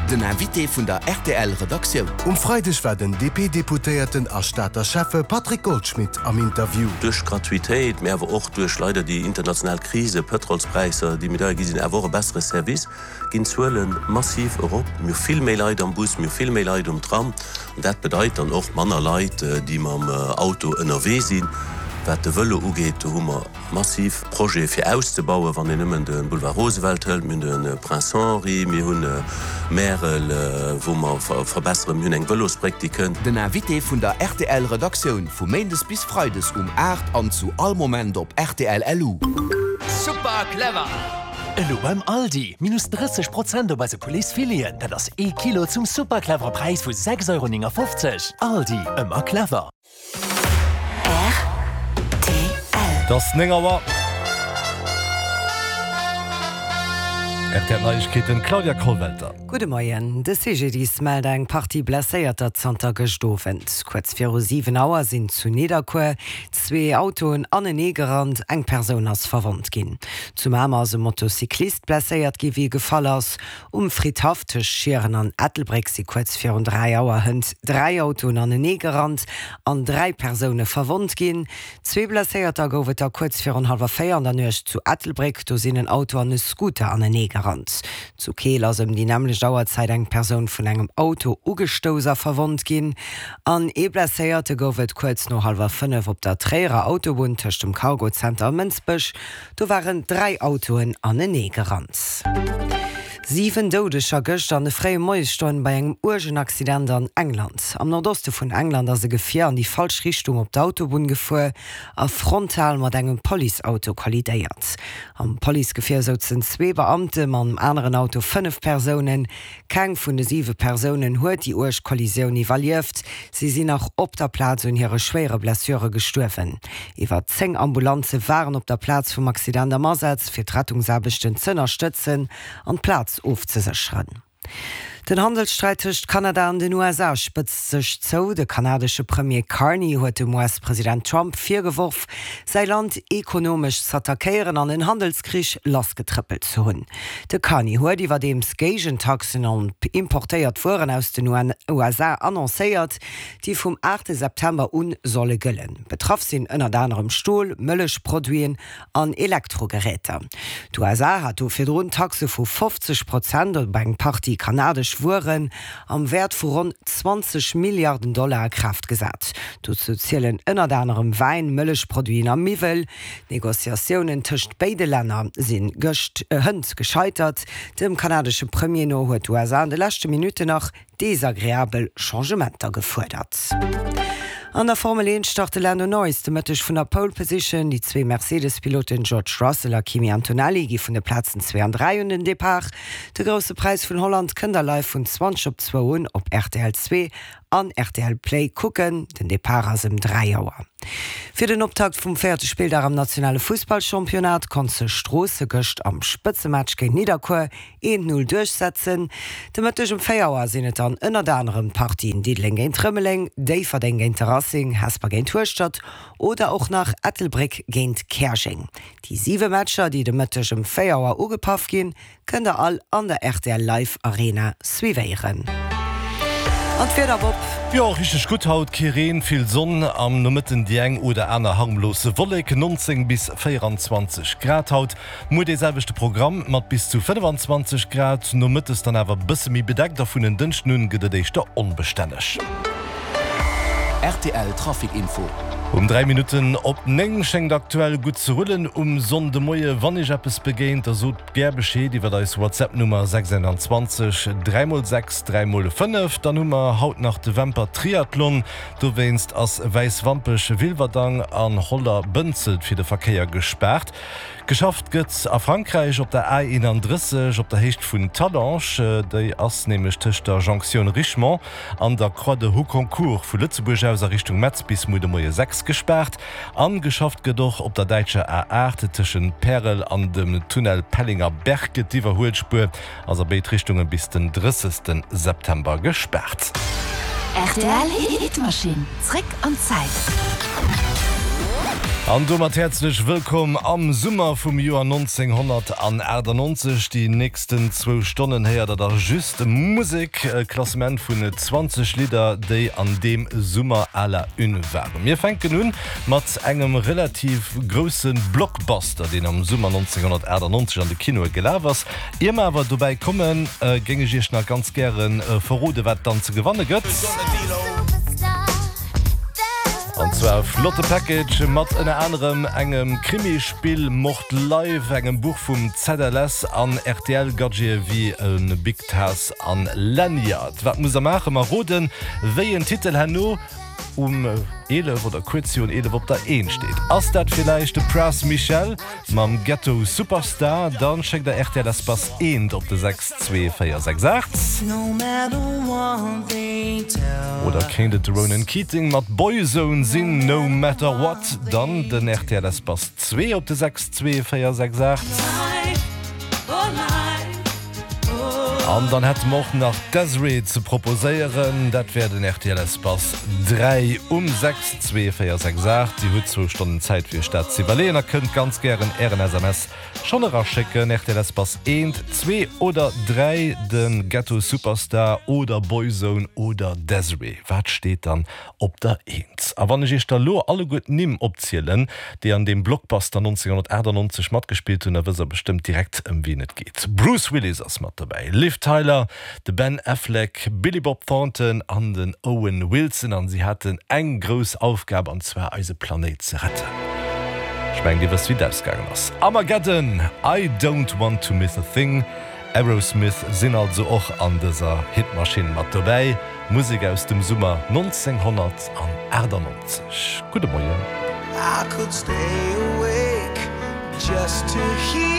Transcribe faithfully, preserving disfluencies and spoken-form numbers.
Den Invité vun der R T L Redaktioun. Um Freideg war den D P-Deputéierten a Stater Schäffe Patrick Goldschmidt am Interview. Duerch Gratuitéit, mee awer och duerch leider déi international Krise, Pëtrolspräisser, déi méi deier gi sinn, awer och e bessere Service, ginn d'Zuele massiv erop. Mir hu vill méi Leit am Bus, mir hu vill méi Leit um Tram. An dat bedeit dann och manner Leit, déi mam Auto ënnerwee sinn. Wat de Vëlo ugeet, do hu mer massiv Projete fir auszebauen, wann een nëmmen de Boulevard Roosevelt hëlt, mir hunn de Prince Henri, mir hunn Märel, wou mer verbesseren, mir hunn eng Vëlosbréck, déi kënnt. Den Invité vun der R T L Redaktioun vu méindes bis freides um aacht an zu all Moment op R T L L U. Super clever! Elo beim Aldi, minus drësseg Prozent op eise Pouletsfileten. Dat ass ee Kilo zum super clevere Präis vu sechs Euro néngefofzeg. Aldi, ëmmer clever. R T L. Et ass néng Auer. R T L Neiegkeeten, Claudia Kollwelter. Gudde Moien. De C G D I S mellt eng Partie Blesséierter zanter gëscht Owend. Kuerz viru siwen Auer sinn zu Nidderkuer zwee Autoen anenee gerannt, eng Persoun ass verwonnt ginn. Zu Mamer ass e Motocyclist blesséiert gi wéi e gefall ass. Um Fridhaff tëscht Schieren an Ettelbréck si kuerz virun dräi Auer hënt dräi Autoen anenee gerannt an dräi Persoune verwonnt ginn. Zwee Blesséierter gouf et da kuerz virun hallwer véier an der Nuecht zu Ettelbréck, do sinn en Auto an e Scooter anenee gerannt. Zu Keel ass ëm déi nämmlecht Auerzäit eng Persoun vun engem Auto ugestouss a verwonnt ginn. An ee Blesséierte gouf et kuerz no hallwer fënnef op der Tréierer Autobunn tëscht dem Cargozenter a Mënsbech. Do waren dräi Autoen anenee gerannt. Siwen Doudeger gëscht an de fréie Moiesstonne bei engem uergen Accident an England. Am Nordoste vun England ass e Gefier an déi falsch Richtung op d'Autobunn gefuer a frontal mat engem Policeauto kollidéiert. Am Policegefier souzen zwee Beamten, am aneren Auto fënnef Persounen. Keng vun de siwe Persounen huet déi uerg Kollisioun iwwerlieft. Si sinn nach op der Plaz un hire schwéiere Blessure gestuerwen. Iwwer zéng Ambulanze waren op der Plaz vum Accident am Asaz, fir d'Rettungsaarbechten z'ënnerstëtzen an d'Plaz ofzesécheren. Den Handelssträit tëscht Kanada an den U S A spëtzt sech zou. De kanadesche Premier Carney huet dem U S-President Trump virgeworf, säi Land ekonomesch z'attackéieren an en Handelskrich lassgetrëppelt ze hunn. De Carney huet iwwerdeems Géigentaxen op importéiert Wueren aus den U S A annoncéiert, déi vum aachte September un solle gëllen. Betraff sinn ënnert anerem Stol, Mëllechproduiten an Elektrogeräter. D'U S A hat do virdrun Taxe vu fofzeg Prozent op eng Partie kanadesch Wueren am Wäert vu ronn zwanzeg Milliarden Dollar a Kraaft gesat. Dozou zielen ënnert anerem Wäin, Mëllechproduiten a Miwwel. D'Negociatiounen tëscht béide Länner sinn gëscht hënt gescheitert. Dem kanadesche Premier no huet d'U S A an de leschte Minutten nach desagreabel Changementer gefuerdert. An der Formel eent start de Lando Norris de Mëtteg vun der Pole Position. Déi zwee Mercedes-Piloten George Russell a Kimi Antonelli gi vun de Plazen zwee an dräi un den Depart. De Grousse Präis vun Holland kënnt der live vun zwanzeg op zwou un op R T L zwee an R T L Play kucken. Den Depart ass ëm dräi Auer. Fir den Optakt vum véierte Spilldag am nationale Fussballchampionnat konnt sech Stroossen gëscht am Spëtzematch géint Nidderkuer eent Null duerchsetzen. De Mëtteg um véier Auer sinn et dann ënnert anerem d'Partien Diddeleng géint Rëmeleng, Déifferdeng géint de Racing, Hesper géint Hueschtert oder och nach Ettelbréck géint Käerjeng. Déi siwe Matcher, déi de Mëtteg um véier Auer ugepaff ginn, kënnt der all an der R T L Live Arena suivéieren. An d'Wieder, Bob? Jo, richteg gutt haut, kee Reen, vill Sonn, am Nomëtten déi eng oder aner harmlos Wollek, nonzéng bis véierenzwanzeg Grad haut. Muer dee selwechte Programm mat bis zu fënnefenzwanzeg Grad, nomëttes dann awer bësse méi bedeckt a vun en Dënschden un gëtt et éischter onbestänneg. R T L Trafic Info. Um dräi Minutten op néng schéngt aktuell gutt ze rullen um Sonndemoie. Wann iech eppes begéint, da sot gär Bescheed iwwer eis WhatsApp-Nummer sechs dräi mol sechs dräi mol fënnef. Dann hu mer haut nach de Wämper Triathlon. Dowéinst ass Wäiswampech, Wilwerdang an Holler-Bënzelt fir de Verkéier gespaart. Geschafft gëtt a Frankräich op der A eenandrësseg op der Héicht vun Talange. Déi ass nämlech tëscht der Jonktioun Richemont an der Croix de Houconcourt vu Lëtzebuerg aus a Richtung Metz bis muer de Moie sechs gespaart. An geschafft gëtt och op der däitscher A aacht tëschent Pärel an dem Tunnel Pellinger Berg. D'iwwerhuelspuer ass a béid Richtunge bis den drëssegste September gespaart. R T L Hitmaschinn. Zréck an d'Zäit. An domat häerzlech wëllkomm am Summer vum Joer nonzénghonnertaachtannonzeg. Déi nächsten zwou Stonnen héiert der da just Musek, e Klassement vun zwanzeg Lidder, déi an deem Summer à la une waren. Mir fänken un mat engem relativ grousse Blockbuster, deen am Summer nonzénghonnertaachtannonzeg an de Kinoe gelaf ass. Ier mer awer dobäi kommen, géing ech iech nach ganz gäre verrode wat dann ze gewanne gëtt. An zwar e flotte Package mat ënner anerem engem Krimispill Mord Live, engem Buch vum Z L S an R T L-Gadgete wéi e Big Taz an Lanyard. Wat musst der maachen? Ma roden, wéi en Titel herno um eelef oder kuerz virun eelef op der Eent steet. Ass dat villäicht de Pras Michel mam Ghetto Superstar? Dann schéckt der R T L Espace eent op de sechs zwee véier sechs aacht. Oder kéint et de Ronan Keating mat Boyzone sinn, No Matter What? Dann den R T L Espace zwee op de sechs zwee véier sechs aacht. An dann hätte mer och nach Des'ree ze proposéieren, dat wär den R T L Espace dräi um sechs zwee véier sechs aacht. Dir hutt zwou Stonnen Zäit fir iech dat ze iwwerleeën a kënnt ganz gären ären S M S schonn eraschécken. R T L Espace eent, zwee oder dräi, de Ghetto Superstar oder Boyzone oder Des'ree, wat steet dann op der Eent? A wann ech iech da lo alleguer d'Nimm opzielen, déi an deem Blockbuster nonzénghonnertaachtannonzeg matgespillt hunn, da wësst der bestëmmt direkt ëm wien et geet. Bruce Willis ass mat dobäi, Liv Tyler, de Ben Affleck, Billy Bob Thornton an den Owen Wilson an si haten eng grouss Aufgab an zwar eise Planéit ze retten. Ech mengen dir wësst wéi et ausgaangen ass. Armageddon, I don't want to miss a thing. Aerosmith sinn also och an dëser Hitmaschinn mat dobäi. Musek aus dem Summer nonzénghonnertaachtannonzeg. Gudde Moien. I could stay awake just to hear